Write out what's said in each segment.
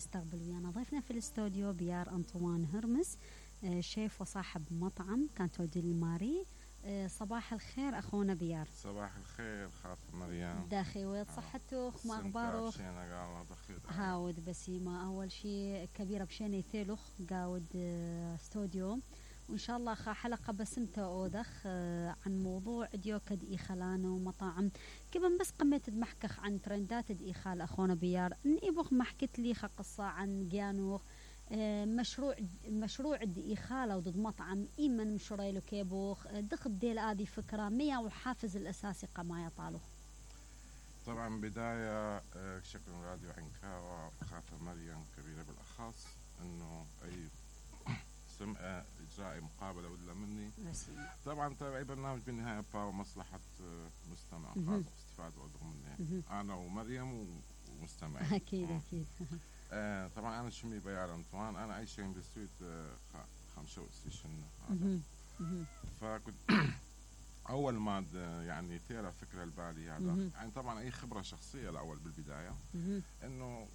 نستقبل ويانا ضيفنا في الاستوديو بيار أنطوان هرمس، شيف وصاحب مطعم كانتو ديل ماري. صباح الخير أخونا بيار. صباح الخير خاطر مريم. داخي ويت صحتك ما أخبارك؟ هاود بسيمة أول شيء كبيرة بشيني ثيلوخ قاود استوديو، وإن شاء الله حلقة بسمتها أودخ عن موضوع ديو كد إخلانو ومطاعم كمان. بس قمت دمحكخ عن ترندات الإخال أخونا بيار نيبوخ ما حكيت لي قصة عن جانوخ مشروع الإخالة وضد مطعم إيمن مشرويلو كيبوخ دخل ديل هذه فكرة ميا وحافز الأساسي قما يطالو. طبعا بداية شكرا راديو عنكاوة خاطر مريم كبيرة بالأخص إنه أي سمعة إجراء مقابلة ولا مني. طبعا أي برنامج بالنهاية باو مصلحة مستمع استفادة منه أنا ومريم ومستمعين. أكيد. طبعا أنا شمي بيار أنطوان، أنا عايش عند السويد 5 ستيشن. فكنت أول ما يعني تيرا فكرة البالي هذا يعني طبعا أي خبرة شخصية الأول بالبداية إنه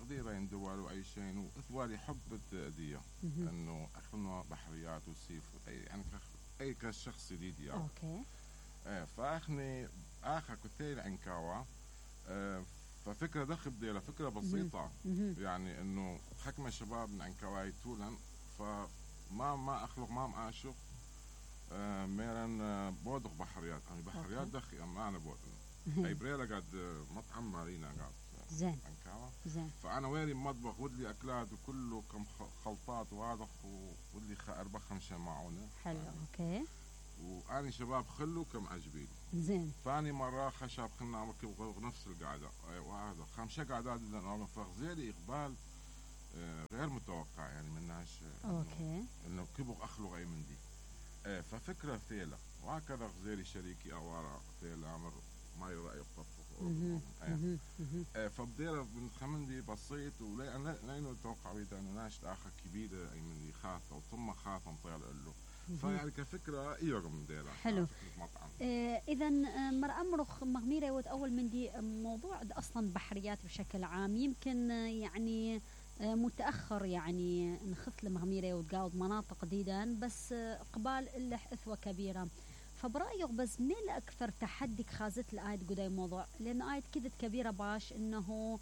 غديرة يندوال وأي شيء وإثوالي حب الدية إنه أخذنا بحريات وسيف يعني أي كشخص جديد يعني. أوكي. فأخني آخر كتير عنكاوة. ففكرة دخل بديلة فكرة بسيطة يعني إنه حكم الشباب من عنكاواي طولا فما أخلق ما أعشق ميران بودق بحريات يعني بحريات دخي أما أنا بودق أي بريلا قد مطعم مارينا قد زين عنكاوة. زين. فأنا ويري مطبخ ودلي أكلات وكله كم خلطات وهذا ودلي 4-5 معونة. حلو يعني. أوكي. وأنا شباب خلو كم عجبين. زين. ثاني مرة خشب خلنا عمل نفس القعدة وهذا 5 قعدات لأنه فغزيلي إقبال غير متوقع يعني من ناس. أوكي. إنه كبر أخلق أي من دي. ففكرة ثيلة وهكذا غزيلي شريكي أوارا ثيلة عمر ما يرأي الطبخ. فبدير من خمندي بسيط ولأنه توقع بيدا إنه ناس آخر كبيرة أي من دي خاطة وثم خاطة نطيل له. فيعني كفكرة إيرم ديلا. حلو. إذا مر أمرخ مغميرة وت أول من دي موضوع أصلا بحريات بشكل عام يمكن يعني متأخر يعني نخف لمغميرة وتقاود مناطق جديدا بس قبال اللح إثوة كبيرة. فبرأيك بس مين أكثر تحدي خازت الآيد قداي موضوع لأنه آيد كذت كبيرة باش إنه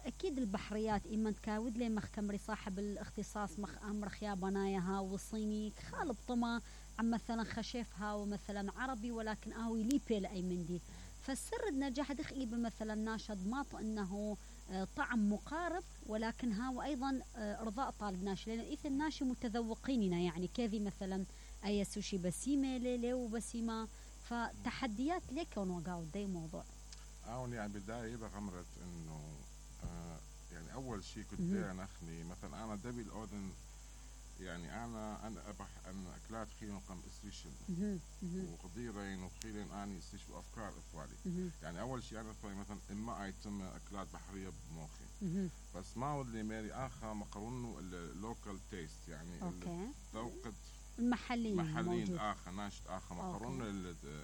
أكيد البحريات إما تكاود لي مخ كمري صاحب الاختصاص مخ أمرخ يا بنايها والصيني خالب طما عم مثلا خشيفها ومثلا عربي ولكن آوي ليبي لأي من دي. فالسر النجاح دخلي بمثلا ناشد ماط إنه طعم مقارب ولكن هاو أيضا إرضاء طالب ناشي لأن إثن ناشي متذوقيننا يعني كذي مثلا أي سوشي بسيمة ليلي وبسيمة فتحديات لك ونوقعوا داي موضوع. يعني بداية بغمرت إنه يعني أول شيء كنت أنا أخني مثلا أنا دبي الأودن يعني أنا أنا أكلات خيلون قم استريشل وقديرين وخيلين أني استريش بأفكار إثوالي. يعني أول شيء أنا إثوالي مثلا إما أيتم أكلات بحرية بموخي بس ما ودي ماري آخر مقرونه اللوكال تيست يعني ذوقت محلين آخر ناشط آخر مقرون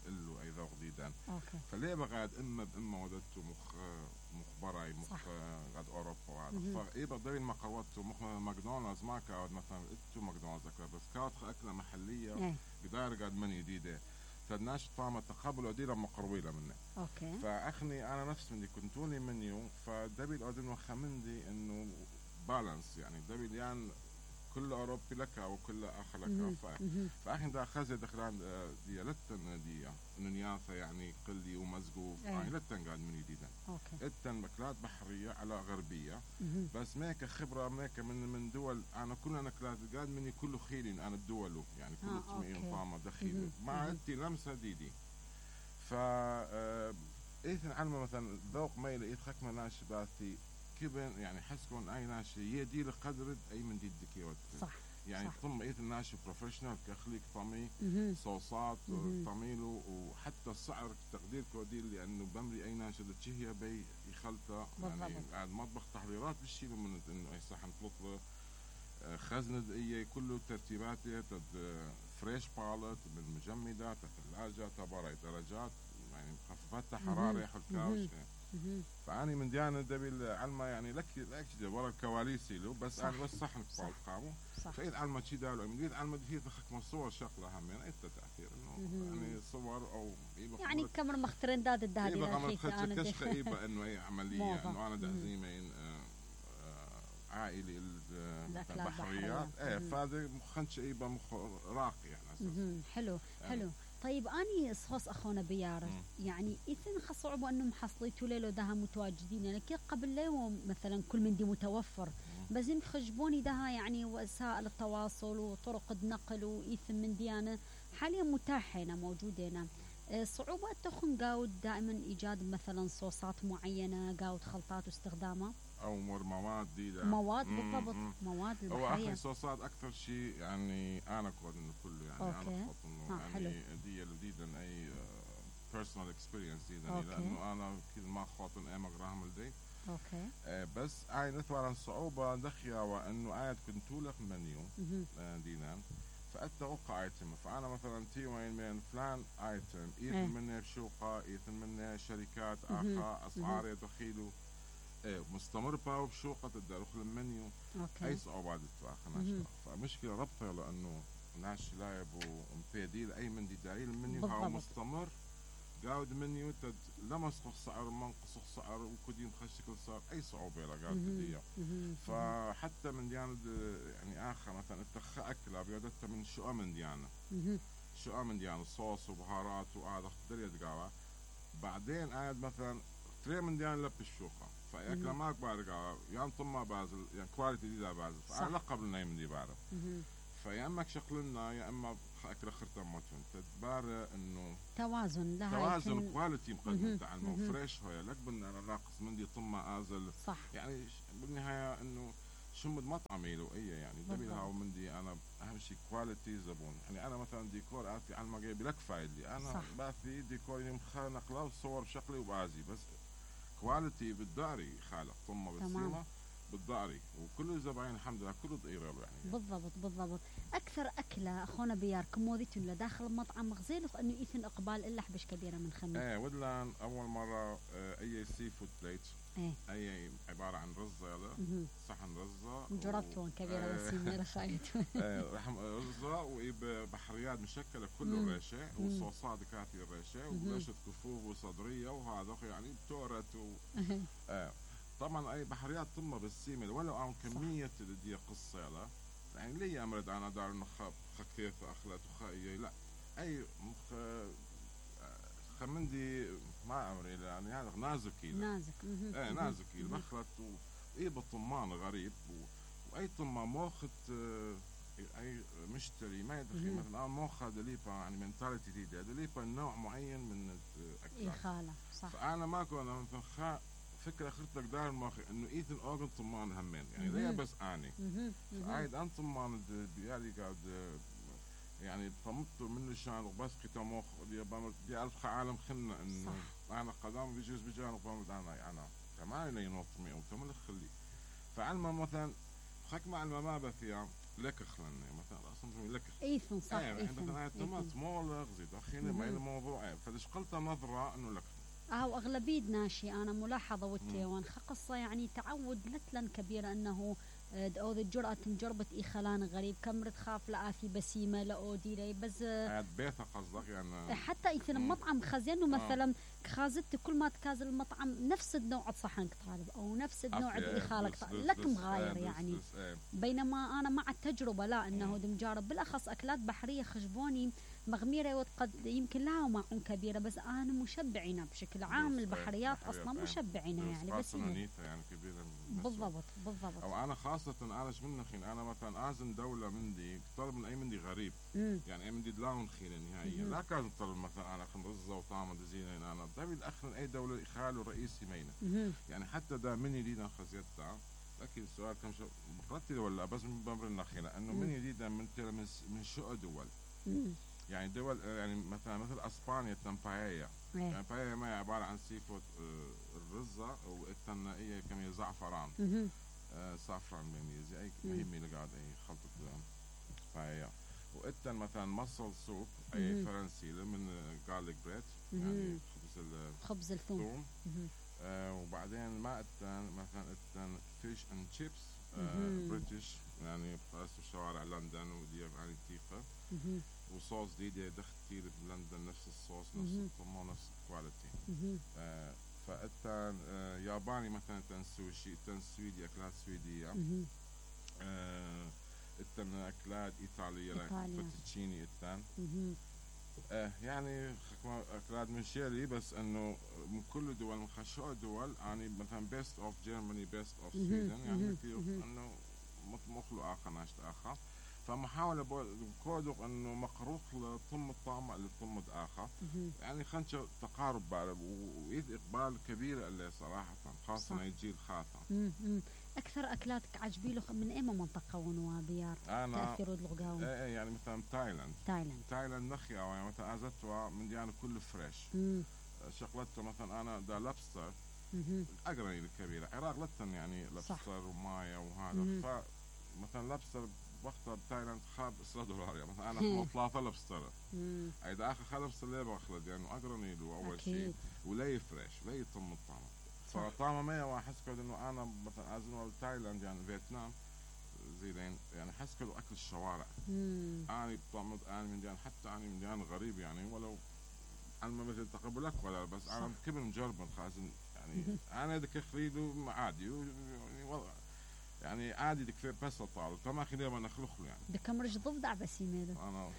اللو أي ذوق جديدا. فليه بقعد إما بإما ودته مخبراي قد أوروبا وهذا فإيه بدري المقروات ماكدونالدز ما كاود مثلا إتو ماكدونالدز بس كاود أكلة محلية قدار قد من جديدة فالناس طعمة تقبل وديرة مقرويلة منه. فأخني أنا نفس مني كنتوني منيو فدبي الأودن وخمندي إنه بالانس يعني دبي يعني كل أوروبي لك وكل آخر لك. فأخي دا خزي دخلان دي لتن دي نياثة يعني قلي ومزقوف يعني لتن قاعد من جديدا. لتن مكلات بحرية على غربية بس ميك خبرة ميك من دول أنا كل أنا كلات قاعد مني كله خيلين أنا الدول يعني كل تميين طامة دخيل ما أنتي لمسة ديدي. إيثن علمة مثلا ذوق ميل إيث خكمة ناش باثي كيبن يعني حسكون أي ناشي يدي لقدر أي من دي الدكيوت صح يعني ثم إيث الناشي بروفيشنال كخليك طمي صوصات طميله وحتى السعر تقدير كوديل لأنه بمري أي ناشي تشهي بي يخلطه يعني قاعد مطبخ تحضيرات بالشيء من إنه أي صحن تطلب خزنة إيه كله ترتيباته فريش بالت بالمجمدات الثلاجة تباري درجات يعني مخففات حرارة حلكاوش فاني من ديانه دبي العلمه يعني لك ورا الكواليس له بس صح. انا بس صح قامو صح. فايد علمه شي دالو من ديت علمه فيه تخك صور شغله هم يعني اي تاثير انه يعني صور او يعني كاميرا مخترندات الدهدي انا كشخه ايبا انه اي عمليه انه انا دعزيمين عائلي البحريات فهذا مخنش ايبا مخ راقي يعني اساسا حلو حلو. طيب اني صوص اخونا بيارس يعني اذن خصعبوا انه محصليتوا ليلو دها متواجدين يعني كي قبل اليوم مثلا كل من دي متوفر بس يخجبوني دها يعني وسائل التواصل وطرق النقل وايثم من ديانه حاليا متاحه هنا موجوده هنا. صعوبات تخن قاود دائما ايجاد مثلا صوصات معينه قاود خلطات واستخدامها او مواد جديده مواد بالضبط مواد البحريه. هو اخي صوصات اكثر شيء يعني انا كود انه كله يعني انا بحط انه يعني دي جديدا اي بيرسونال اكسبيرينس جديدا لانه انا كل ما خاطن اي مقراهم لدي اوكي بس اي مثلا صعوبه دخيا وانه قاعد كنت لك منيو دينا فأتوقع ايتم فانا مثلا تي وين من فلان ايتم ايثن منه بشوقه ايثن منه شركات اخا اسعار يدخيلوا مستمر باو بشوقة الدخول المنيو اي صعوبات تواخنا فمشكله ربطه لانه ناس لايب ومبيدي اي من دي دايل المنيو هاو مستمر قاود منيو تد لمسخ السعر منقص السعر وكدين خشكل صار اي صعوبه لا قاود بديه فحتى من ديانه يعني اخر مثلا اتخ اكله بيدتها من شو من ديانه شو من ديانه صوص وبهارات وهذا دريت قاوه بعدين قاعد مثلا تري من ديانه لب الشوقه فاكله ماك بارقه يعني طما بازل يعني كواليتي دي بازل فانا لقب لنا من دي بعرف فيا اما شغلنا يا اما اكل خرطه موتون تدبار انه توازن لها توازن كواليتي مقدم تاع المو فريش هو لك بدنا انا ناقص من دي طما ازل صح يعني بالنهايه انه شمد مطعمي له اي يعني دبي هاو من دي انا اهم شيء كواليتي زبون يعني انا مثلا ديكور اتي على ما جايب لك فايدي انا صح. باثي ديكور مخانق له صور شكلي وبازي بس كواليتي بالداري خالق طمه بالسيمه بالضاري وكل زباين الحمد لله كله ضئير يعني بالضبط اكثر اكله اخونا بيار كموديتون لداخل المطعم غزيل انه ايثن اقبال الا حبش كبيره من خميس ودلان اول مره اي سي فود بليت اي عباره عن رزه يلا صحن رزه جربتون كبيره وسيمه خايت رحم رزه وبحريات مشكله كله الريشه وصوصات كافيه الريشه ورشه كفوف وصدريه وهذا يعني بتورت طبعا اي بحريات طمه بالسيمه ولو عن كميه اللي قصه يلا يعني لي امرد انا دار نخاب خكيف اخلت وخايه لا اي خمندي ما امري يعني هذا نازكي نازكي بخلت واي بالطمان غريب واي طمه موخت اي مشتري ما يدري مثلا موخه دليبا يعني منتاليتي جديده دليبا نوع معين من الاكل اي خاله صح فانا ما كنا مثلا فكرة خرطك دار ماخي انه ايثن اوغن طمان همين يعني ليه بس اني عايد ان طمان بيالي قاعد يعني طمطوا منه شان وبس كتا مخ دي الف عالم خلنا انه انا قدام بيجوز بجانب بامد انا كمان ينط مي او تمل خلي فعلما مثلا خك مع ما بثيا لك خلنا مثلا اصلا لك ايثن صح ايثن مثلا تمت مولغ زيد اخينا ما الموضوع فدش قلت نظره انه لك واغلبيه ناشي انا ملاحظه والتيوان قصه يعني تعود لتلن كبيره انه او الجرأة مجربة خلان غريب كمرت خاف لآفي بسيمة لأودي لي بس بيتها قصدك يعني حتى إذا المطعم خزينه مثلا خازت كل ما تكازل المطعم نفس النوع صحن طالب أو نفس النوع اللي خالك لك مغاير يعني بينما أنا مع التجربة لا إنه مجرب بالأخص أكلات بحرية خشبوني مغميرة وقد يمكن لها معون كبيرة بس أنا مشبعينها بشكل عام البحريات أصلا مشبعينها يعني بس يعني كبيرة بالضبط أو أنا خاصة أنا من خين أنا مثلا أزن دولة مندي طلب من أي مندي غريب يعني أي مندي دلاون خين نهائيا لا كان طلب مثلا أنا خن رزة وطعمة زين أنا دبي الأخر أي دولة خاله رئيسي مينة يعني حتى دا مني لينا خزيتها لكن السؤال كم شو بقرتي ولا بس من بمر النخيلة إنه مني لينا من شو دول يعني دول يعني مثل اسبانيا تنبايا يعني بايا ما عباره عن سي فود الرزه والثنائيه كم زعفران صافران ميميزي اي مهمه اللي قاعد اي خلطه بايا واتن مثلا مصل سوب اي فرنسي من جارليك بريد يعني خبز الثوم وبعدين ما اتن مثلا اتن فيش اند شيبس بريتش يعني بخاص بشوارع لندن ودي يعني كيفه وصوص دي دخ كتير بلندن نفس الصوص نفس الطعم نفس الكواليتي. فاتن ياباني مثلا اتن سوشي اتن سويدي اكلات سويديه. اتن اكلات ايطاليه فوتوتشيني اتن. يعني اكلات من شيري بس انه من كل دول من خشوع دول يعني مثلا بيست اوف جيرماني بيست اوف سويدن يعني كثير انه مطموخ له اخر ناشط اخر. فمحاولة كودق انه مقروق لطم الطعم اللي طم اخر يعني خنشة تقارب وإيد اقبال كبير اللي صراحة خاصة يجي الخاطر. اكثر اكلاتك عجبي له من اي منطقة ونوابيار تأثير الغاوي؟ يعني مثلا تايلاند نخيا يعني مثلا ازتوا من ديانه كله فريش. شغلتها مثلا انا دا لابستر اقرني الكبيرة عراق لتن يعني لابستر ومايا وهذا فمثلا لابستر وقتها بتايلاند خاب $10 يعني مثلا انا 3 لابستر اذا اخر خلبستر ليه باخذ يعني اقرني له اول شيء ولي فريش ولي يطم الطعم. فطعمه ما احس كده انه انا مثلا ازن تايلاند يعني فيتنام زين يعني حس كده اكل الشوارع. انا بطعم انا من ديان حتى انا من ديان غريب يعني ولو انا ما مثل تقبلك ولا بس انا كبر مجرب خازن يعني انا ذاك خريده عادي يعني عادي دك بس طال تما خليه ما نخلخ له يعني دك مرج ضفدع بس يميله انا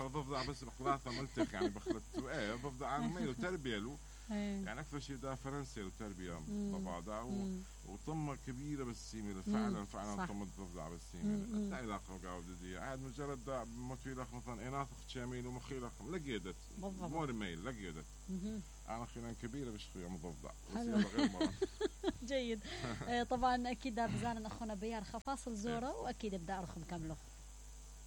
ضفدع بس بخلاطه ملتخ يعني بخلطته ضفدع انا ميله تربيه له يعني اكثر شيء ده فرنسي وتربيه ضفادع وطمه كبيره بس يميله فعلا طمه ضفدع بس يميله لا علاقه قاعده عاد مجرد ده موتيلخ مثلا اناثخ شاميل ومخيلخ لقيدت مور ميل لقيدت انا خلان كبيره مش يوم ضفدع بس غير مره جيد. طبعا اكيد بزان اخونا بيار خفاصل زوره واكيد بدي ارخم كامله.